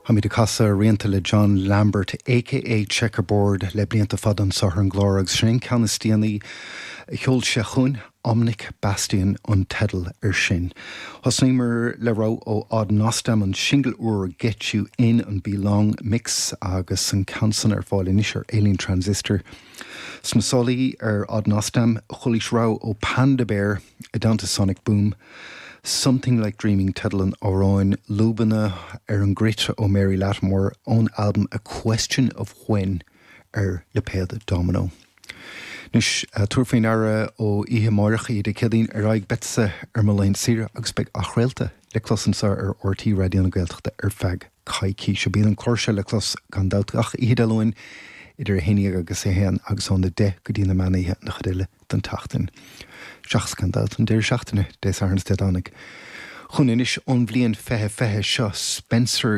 Táimid ag casadh rianta le John Lambert aka Checkerboard le blianta fada anseo ar an gclár agus sin an ceann is déanaí a sheol sé chugainn, Omnic Bastion an teideal air sin. Thosnaíomar le rogha ó Odd Nosdam, an singil úr Get You In, an Belong Mix agus an ceann san ar fáil anois ar Alien Transistor. Sna sálaí ar Odd Nosdam, chualaís rogha ó Panda Bear i dteannta Sonic Boom, Something Like Dreaming teideal an amhráin, lúbanna ar an gcruit ó Mary Lattimore ón albam A Question of When ar lipéad Domino. Anois, tabhair faoi ndeara ó oíche amáireach, oíche Dé Céadaoin, ar aghaidh, beadsa ar mo laethanta saoire agus beidh athchraolta le clos anseo ar RTÉ Raidió na Gaeltachta ar feadh coicíse. Bíonn an clár seo le clos gan dabht gach oíche Dé Luain idir 11 agus 1 agus óna 10 go dtí na meánoíche an chuid eile den tseachtain. Seachas gan dabht an deireadh seachtaine, Dé Sathairn is Dé Domhnaigh. Chugainn anois ón bhliain 2020 seo Spencer.